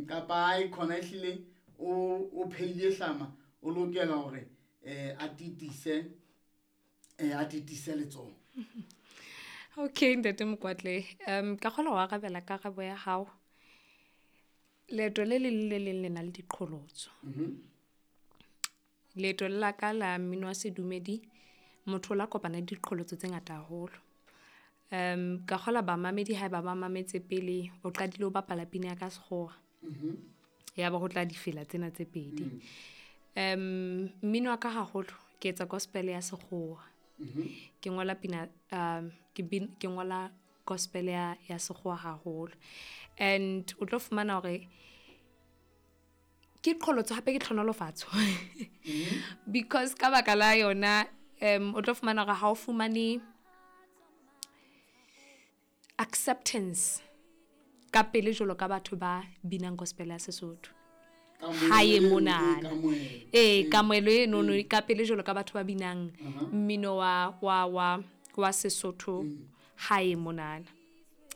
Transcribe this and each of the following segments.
Kapa ai khona ehlile o pheile hlama o lokela hore a titise a titise letsoho. Okay, ntate Mokwatle, ka kgona ho arabela karabo ya hao. Leeto le leng le leng le na le diqholotso. Leeto la ka la mmino wa sedumedi, motho o la kopana le diqholotso tse ngata haholo. Ka kgola bamamedi haeba ba mametse pele o qadile ho bapala pina ya ka sekgowa. Ya ba ho tla difela tsena tse pedi. Mmino wa ka haholo ke etsa gospel ya sekgowa. Ke ngola pina ke ngola gospel ya sekgowa haholo. And o tlo fumana hore ke qholotso hape ke tlhonolofatso. Because ka baka la yona o tlo fumana hore ha o fumane acceptance ka pele jwalo ka batho ba binang gospel ya Sesotho. Hae monana. Ee, kamohelo e nono ka pele jwalo ka batho ba binang mmino wa Sesotho hae monana.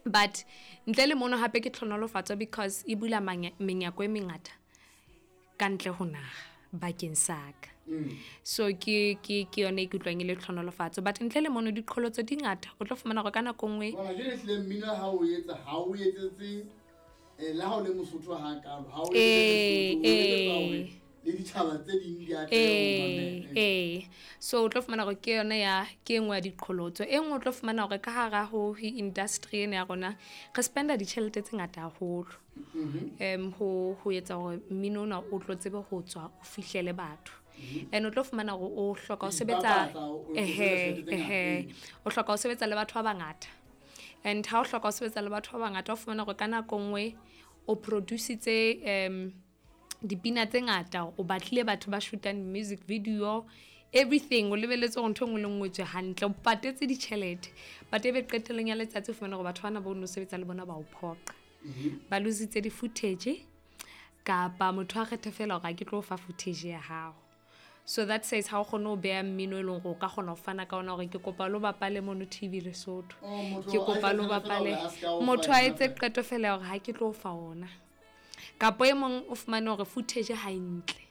But ntle le mono hape ke tlhonolofatso because e bula menyako e mengata ka ntle ho naha bakeng sa ka. So ke yone e ke utlwang e le tlhonolofatso. But ntle le mono diqholotso di ngata, o tlo fumana hore ka nako nngwe Bona jwale ehlile mmino ha o etsa, ha o etsetse le ha o le Mosotho ha kalo, ha o etsetse Sesotho, o etsetsa hore le ditjhaba tse ding di atle ho mamela. So o tlo fumana hore ke yona ya ke e nngwe ya diqholotso. E nngwe o tlo fumana hore ka hara ho industry ena ya rona re spenda ditjhelete tse ngata haholo. Ho etsa hore mmino ona o tlo tsebe ho tswa o fihlele batho. And o tlo fumana hore o hloka ho sebetsa Ipapatsa, o tlo sebetsa tjhelete tse ngata. O hloka ho sebetsa le batho ba bangata. And ha o hloka ho sebetsa le batho ba bangata, o fumana hore ka nako nngwe o produce-itse dipina tse ngata, o batlile batho ba shootang music video, everything, o lebelletse hore ntho e nngwe le nngwe e tswe hantle, o patetse ditjhelete. But ebe qetellong ya letsatsi o fumana hore batho bana bo no sebetsa le bona ba o phoqa. Ba lositse di-footage, kapa motho a kgethe fela hore ha ke tlo fa footage ya hao. So that says ha o kgone ho beha mmino e leng hore o ka kgona ho fana ka ona hore ke kopa lo bapale mono TV Lesotho. Oh, motho Ke a kopa lo etse fela bapale. hore a ska o fa Motho a yona etse fela. qeto fela hore ha ke tlo fa ona. Kapa e mong o fumane hore footage ha e ntle.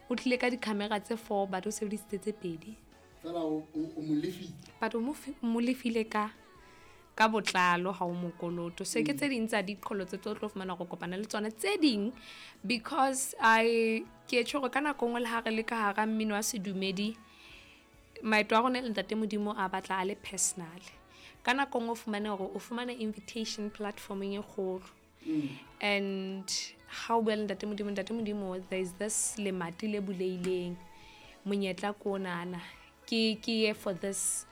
O tlile ka di-camera tse 4 but o sebedisitse tse pedi. Fela o mo lefile. But o mo lefile ka botlalo ha o mokoloto. So ke tse ding tsa diqholotso tse o tlo fumana hore kopana le tsona tse ding, because I ke tjho hore ka nako nngwe le ha re le ka hara mmino wa sedumedi, maeto a rona le Ntate Modimo a batla a le personal. Ka nako nngwe o fumane hore o fumana invitation platformeng e kgolo. And ha o bua le Ntate Modimo, Ntate Modimo, there is this lemati le buleileng, monyetla ko onana, ke ye for this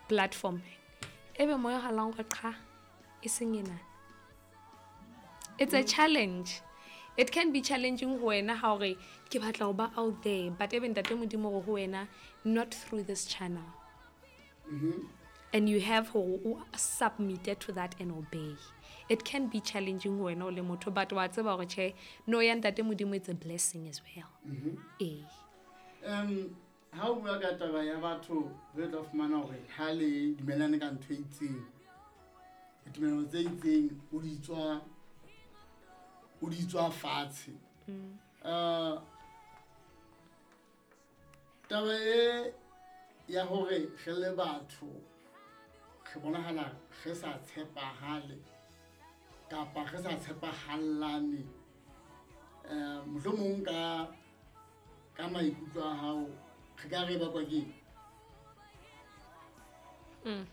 platform. Ebe moya halang hore qha, e seng ena. It's a challenge. It can be challenging ho wena ha hore ke batla ho ba out there, but ebe Ntate Modimo hore ho wena not through this channel. And you have ho submit to that and obey. It can be challenging ho wena o le motho, but wa tseba hore tjhe, no ya Ntate Modimo, it's a blessing as well. Ha o bua ka taba ya batho re tla fumana hore ha le dumellane ka ntho e itseng, ditumelo tse itseng, o di tswa fatshe. Taba e ya hore re le batho re bonahala re sa tshepahale kapa re sa tshepahallane, mohlomong ka maikutlo a hao re ka re bakwa ke eng?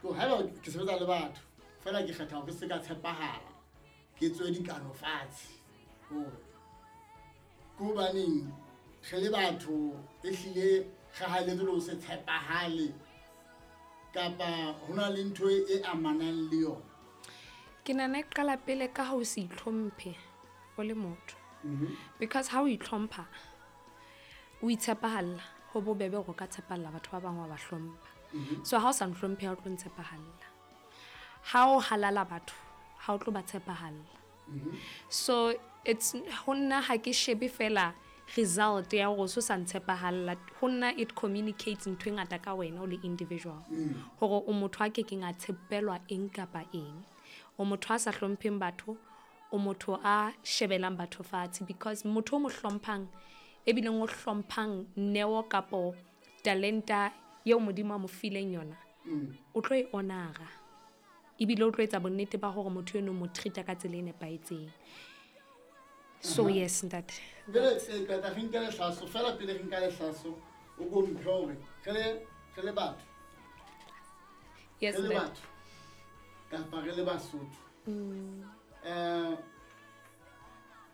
Ke hore haeba ke sebetsa le batho fela ke kgetha hore ke se ka tshepahala, ke tswe dikano fatshe, hore ke hobaneng re le batho ehlile re haeletse le ho se tshepahale, kapa ho na le ntho e amanang le yona? Ke nahana e qala pele ka ha o se itlhomphe o le motho. Because ha o itlhompha, o itshepahalla, ho bobebe hore o ka tshepahalla batho ba bang wa ba hlompha. So ha o sa ntlhomphe, ha o tlo ntshepahalla. Ha o halala batho, ha o tlo ba tshepahalla. So it's ho nna ha ke shebe fela result ya hore o so sa ntshepahalla, ho nna it communicates ntho e ngata ka wena o le individual. Hore o motho a kekeng a tshepelwa eng kapa eng. O motho a sa hlompheng batho, o motho a shebelang batho fatshe, because motho o mo hlomphang ebileng o hlomphang neo kapo talenta eo Modimo a mo fileng yona, o tlo e honora ebile o tlo etsa bonnete ba hore motho eno mo treat-a ka tsela e nepahetseng. So yes, ntate. Jwale qeta re nke lehlaso fela, pele re nka lehlaso o ko mphe hore re le batho, Yes, re le ntate. batho kapa re le Basotho,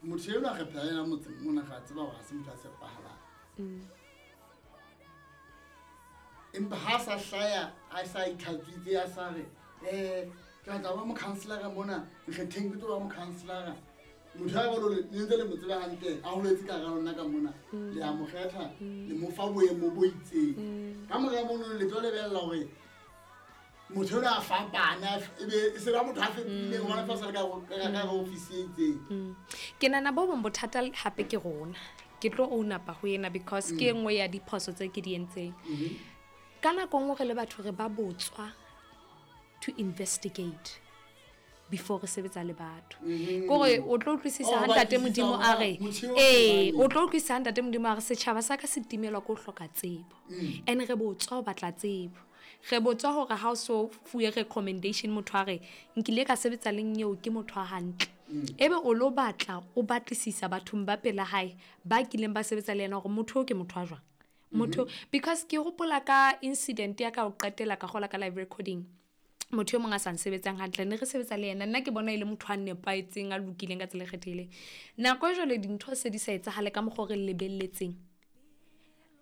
motho enwa re phela le yena motseng mona, re a tseba hore ha se motho a tshepahalang, empa ha sa hlaya a sa itlhatswitse, a sa re ke batla ho ba mokhanselara mona, nkgetheng ke tlo ba mokhanselara, motho ya jwalo le ntse le mo tseba hantle, a holetse ka hara lona ka mona, le a mo kgetha, le mo fa boemo bo itseng. Ka mora mono le tlo lebella hore motho enwa a fapane, ebe e se ba motho a fetohileng hobane feela o sa le ka hara ofisi e itseng. Ke nahana bo bong bothata hape ke rona. Ke tlo own up-a ho ena because ke e nngwe ya diphoso tse ke di entseng. Ka nako e nngwe re le batho re ba botswa to investigate before re sebetsa le batho. Kore o tlo utlwisisa Oh, ha ntate batlisisa Modimo hore a re, motho eo ee, ke o tlo utlwisisa ha ntate Modimo a re setjhaba sa ka se timelwa ke ho hloka tsebo. And re botswa ho batla tsebo. Re botswa hore ha o so fuwe recommendation motho a re nkile ka sebetsa le nyeo ke motho a hantle. Ebe o lo batla o batlisisa bathong ba pela hae ba kileng ba sebetsa le yena hore motho o ke motho a jwang. Motho, because ke hopola ka incident ya ka ho qetela ka kgola ka live recording. Motho e mong a sa nsebetsang hantle, ne re sebetsa le yena, nna ke bona e le motho a nepahetseng, a lokileng ka tsela e kgethehileng. Nako e jwale dintho se di sa etsahale ka mokgwa o re lebelletseng.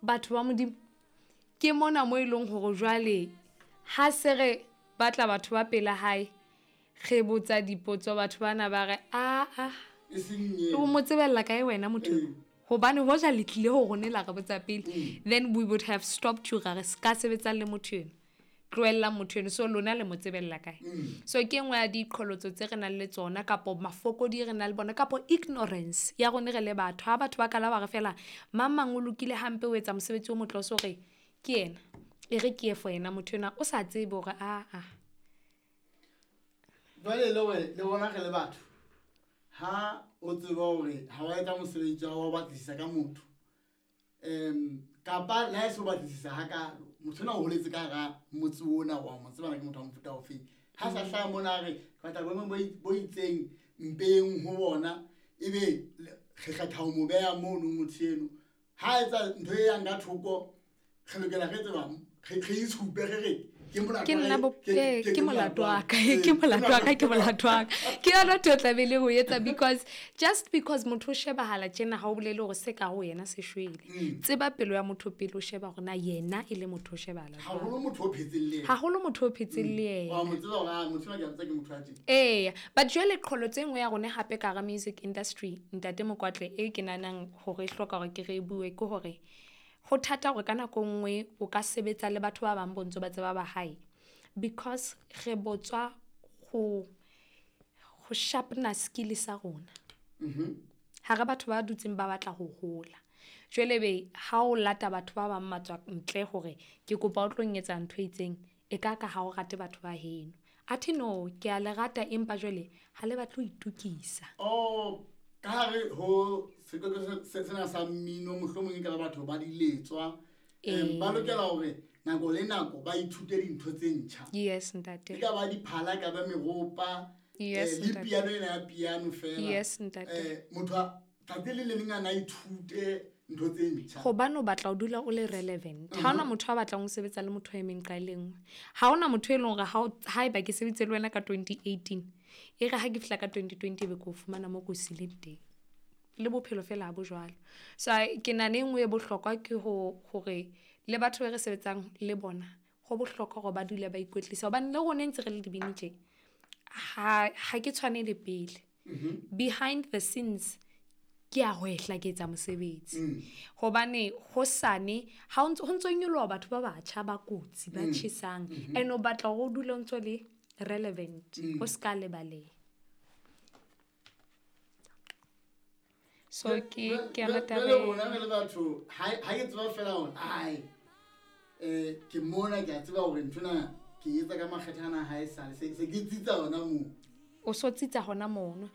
Batho ba Modimo, ke mona mo e leng hore jwale ha se re batla batho ba pela hae, re botsa dipotso, batho bana ba re, a, E seng eo. o mo tsebella kae wena motho eo? Hobane hoja le tlile ho rona la re botsa pele, then we would have stopped you, ra re se ka sebetsang le motho eno. Tlohellang motho eno, so lona le mo tsebella kae? So ke e nngwe ya diqholotso tse re nang le tsona, kapo mafokodi re nang le bona, kapo ignorance ya rona re le batho. Ha batho ba kala ba re fela mang mang o lokile hampe, o etsa mosebetsi o motle, o so re ke yena, e re ke ye for yena motho enwa, o sa tsebe hore a, a. Jwale le hore le rona re le batho, ha o tseba hore ha wa etsa mosebetsi wa ho batlisisa ka motho, kapa le ha e se ho batlisisa hakalo, motho enwa o holetse ka hara motse ona, wa mo tseba na ke motho wa mofuta ofeng. Ha sa hlaha mona a re ke batla boemo bo itseng mpeng ho bona, ebe re kgetha ho mo beha mono motho eno. Ha etsa ntho e yang ka thoko, re lokela re tseba, re itshupe re re ke molato Ke wa nna hae, bo, ke ke molato molato wa wa ka, hae. ke molato wa ka, ke molato wa ka. Ke yona ntho e tlamehileng ho etsa, because just because motho o shebahala tjena ha o bolele hore se ka ho yena se shwele. Tseba pelo ya motho pele o sheba hore na yena e le motho o shebahala jwang. Haholo motho o phetseng le yena. Haholo motho o phetseng le yena. Wa mo tseba hore, ah, motho enwa ke a mo tseba ke motho wa teng. Eya, but jwale qholotso e nngwe ya rona hape ka hara music industry, ntate Mokwatle, e ke nahanang hore e hloka hore ke re e bue, ke hore ho thata hore ka nako nngwe o ka sebetsa le batho ba bang bo ntso ba tseba ba hae, because re botswa ho sharpener skill sa rona. Hara batho ba dutseng ba batla ho hola. Jwale be ha o lata batho ba bang matswa ntle hore ke kopa o tlo nketsa ntho e itseng, e ka ka ha o rate batho ba heno. Athe no, ke a le rata empa jwale ha le batle ho itokisa. Oh, ka hare ho sekolo sena sa mmino, mohlomong e ka ba batho ba diletswa, ba lokela hore nako le nako ba ithute dintho tse ntjha. Yes, ntate. E ka ba diphala, e ka ba meropa, Yes, le ntate. piano ena ya piano fela. Yes, ntate. Motho a tsatsi le le leng a na ithute ntho tse ntjha. Hobane o batla ho dula o le relevant. Ha hona motho a batlang ho sebetsa le motho a emeng ka e le nngwe. Ha hona motho e leng hore haeba ke sebeditse le wena ka 2018, e re ha ke fihla ka 2020 ebe ke o fumana mo ke o sileng teng. Le bophelo fela ha bo jwalo. So, ke nahana e nngwe e bohlokwa ke hore le batho be re sebetsang le bona, ho bohlokwa hore ba dule ba ikwetlisa. Hobane le rona ntse re le dibini tje, ha ke tshwane le pele. Behind the scenes, ke a hwehla ke etsa mosebetsi. Hobane hosane, ha o ntso, ho ntso nyoloha batho ba batjha ba kotsi, ba tjhesang. And o batla hore o dule o ntso le relevant, o ska lebaleha. So ke yona taba Jwale e. rona re le batho, ha ke tseba fela hore, ai, ke mona, ke a tseba hore nthwena ke etsa ka makgethe ana ha esale, se ke tsitsa hona moo. O so tsitsa hona mono.